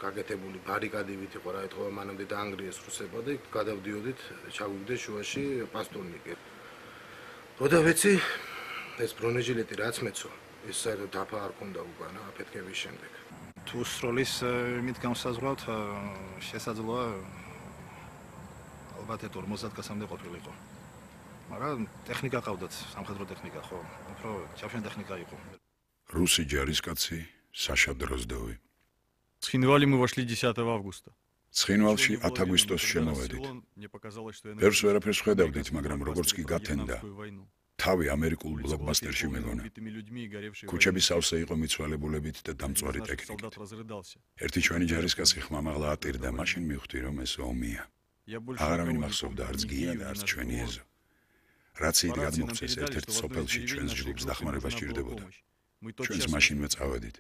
გაკეთებული ბარიკადებით იყო რა ეთქვა მანამდე დაანგრიეს რუსებმა და გადავდიოდით ჩაგვიგდეს შუაში პასტურნიკი. როდა ვეცი ეს ბრონეჟილეტი რაც მეცო ეს საერთოდ დაფა არ ქონდა უკან აფეთქების შემდეგ. თუ სროლის მით განსაზღვრავთ შესაძლოა ალბათ 50 კაცამდე ყოფილიყო. მაგრამ ტექნიკა ყავდათ, სამხედრო ტექნიკა ხო, უფრო ჩავშენ ტექნика იყო. Русский ჯარისკაცი Саша Дроздовი. Ცხინვალი мы вошли 10 августа. ცხინვალში 10 აგვისტოს შემოვედით. ვერს ვერაფერს ხედავდით, მაგრამ როგორც კი გათენდა, თავი ამერიკულ ბლოკბასტერში მეგონა. ქუჩები სავსე იყო მიცვალებულებით და დამწვარი ტექნიკით. ერთი ჩვენი ჯარისკაცი ხმამაღლა ატირდა, მაშინ მივხვდი, რომ ეს ომია. აღარავინ მახსოვდა არც გია და არც ჩვენი ეზო. რაციით გადმოგვწეს ერთ-ერთ სოფელში ჩვენს ჯგუფს დახმარება სჭირდებოდა. ჩვენს მაშინვე წავედით.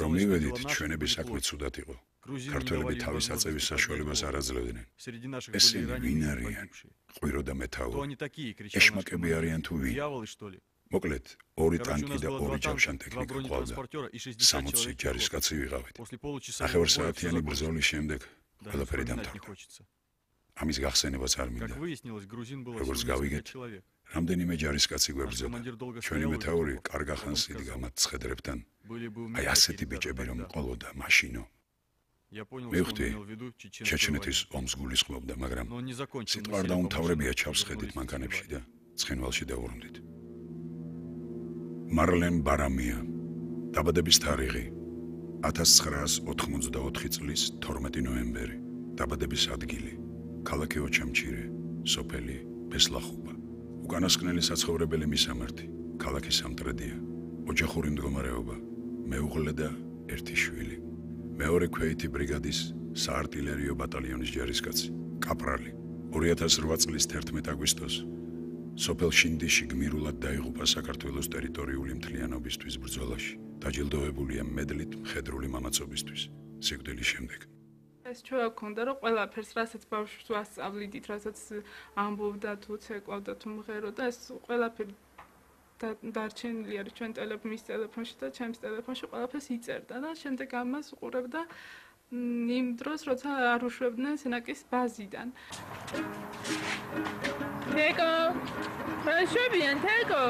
რომ მივედით, ჩვენები საქმე ცუდად იყო. ქართველები თავის აწევის საშუალებას არ აძლევდნენ. ესენი ვინ არიან? ყვირო და მეთაური. ეშმაკები არიან თუ ვინ? მოკლედ, 2 ტანკი და 2 ჯავშან ტექნიკა ყავდა. 60 ჯარისკაცი ვიყავით. ნახევარსაათიანი ბრძოლის შემდეგ ყველაფერი დამთავრდა. ამის გახსენებაც არ მინდა. როგორც გავიგეთ, რამდენიმე ჯარისკაცი გვებრძოდა. ჩვენი მეთაური კარგ ახანს იდგა მათ ცხედრებთან. აი ასეთი ბიჭები რომ ყოლოდა მაშინო. მივხვდი, ჩეჩნეთის ომს გულისხმობდა, მაგრამ სიტყვა არ დაუმთავრებია ჩავსხედით მანქანებში და ცხინვალში დავუბრუნდით. მარლენ ბარამია, დაბადების თარიღი 1984 წლის 12 ნოემბერი, დაბადების ადგილი ქალაქი ოჩამჩირე, სოფელი ბესლახუბა. უკანასკნელი საცხოვრებელი მისამართი, ქალაქი სამტრედია, ოჯახური მდგომარეობა, მეუღლე და ერთი შვილი. მეორე ქვეითი ბრიგადის საარტილერიო ბატალიონის ჯარისკაცი, კაპრალი. 2008 წლის 11 აგვისტოს სოფელ შინდიში გმირულად დაიღუპა საქართველოს ტერიტორიული მთლიანობისთვის ბრძოლაში. დაჯილდოებულია მედლით მხედრული მამაცობისთვის სიკვდილის შემდეგ. ეს ჩვენ გქონდა რომ ყველაფერს რასაც ბავშვს ვასწავლიდით, რასაც ამბობდა თუ ცეკვავდა თუ მღერო და ეს ყველაფერი დარჩენილი არის ჩვენ მის ტელეფონში და ჩემს ტელეფონში ყველაფერს იწერდა და შემდეგ ამას უყურებდა იმ დროს როცა არ უშვებდნენ სენაკის ბაზიდან. თეკო, ხაშობიან თეკო.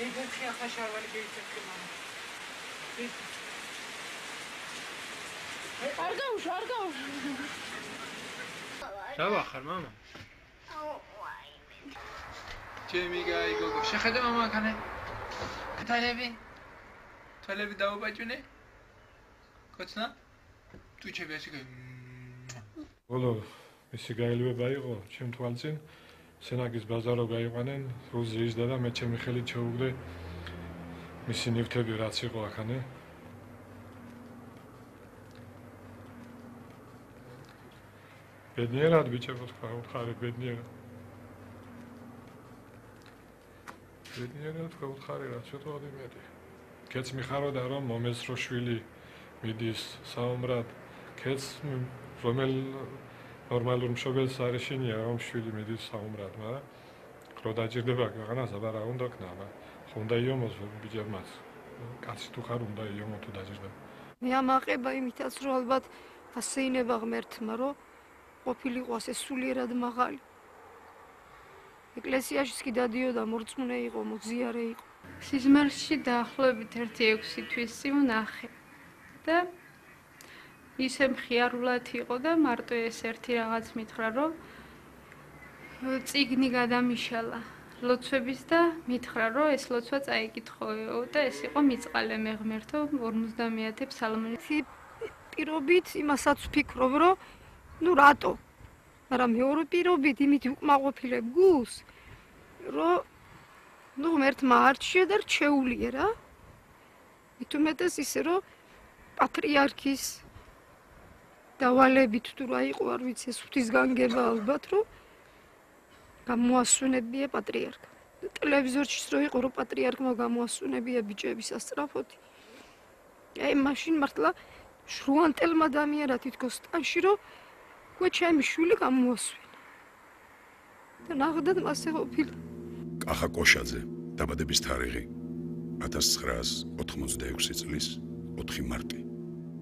ეგეთი ახაშარვალი გეიცექი მამა. არ გაუშ. რა ვახარ მამა? ჩემი გაი გოგო, შეხედე მამა ხანე? თვალები დაუბაჭუნე? კოცნა? ტუჩები ასე გაი. ბოლო მისი გაელვება იყო ჩემ თვალწინ. სენაკის ბაზარო გაიყვანენ, რუზიის და მე ჩემი ხელით ჩაუგდე მისი ნივთები რაც იყო ახანე. ბედნიერად ბიჭებო თქვა, უთხარი ბედნიერად. ბედნიერად თქვა, უთხარი რა, ცოტა მეტი. კეც მიხაროდა რომ მომესრო შვილი მიდის საომრად, კეც რომელ ნორმალურ მშობელს არ ეშინია რომ შვილი მიდის საომრად, მაგრამ რო დაჭირდება ქვეყანას აბა რა უნდა ქნა, ხო უნდა იომოს ბიჭებმაც. კაცი თუ ხარ უნდა იომო თუ დაჭირდება. მე ამაყება იმითაც რომ ალბათ ასეინება ღმერთმა რომ ყოფილიყო ასე სულიერად მაღალი. ეკლესიაში კი დადიოდა, მორწმუნე იყო, მოგზიარე იყო. სიზმარში დაახლოებით 1-6 თვის ვნახე და ისე მხიარულად იყო და მარტო ეს ერთი რაღაც მითხრა რომ წიგნი გადამიშალა ლოცვების და მითხრა რომ ეს ლოცვა წაიკითხოეო და ეს იყო მიწყალე მე ღმერთო 50 ფსალმი. პირობით იმასაც ვფიქრობ რომ ნუ რატო? მაგრამ მეორე პირობით იმით უკმაყოფილებ გულს, რომ ნუ ღმერთმა არჩია და რჩეულია რა. მით უმეტეს ისე რომ პატრიარქის დავალებით თუ რა იყო არ ვიცი ეს ღვთისგანგება ალბათ რომ გამოასვენებია პატრიარქა. ტელევიზორშიც რო იყო რომ პატრიარქმა გამოასვენებია ბიჭების ასწრაფოთი. აი მაშინ მართლა შრუანტელმა დამიერა თითქოს ტანში რომ უკვე ჩემი შვილი გამოასვენა. და ნახდათ მასე ყოფილა. კახა კოშაძე, დაბადების თარიღი 1986 წლის 4 მარტი.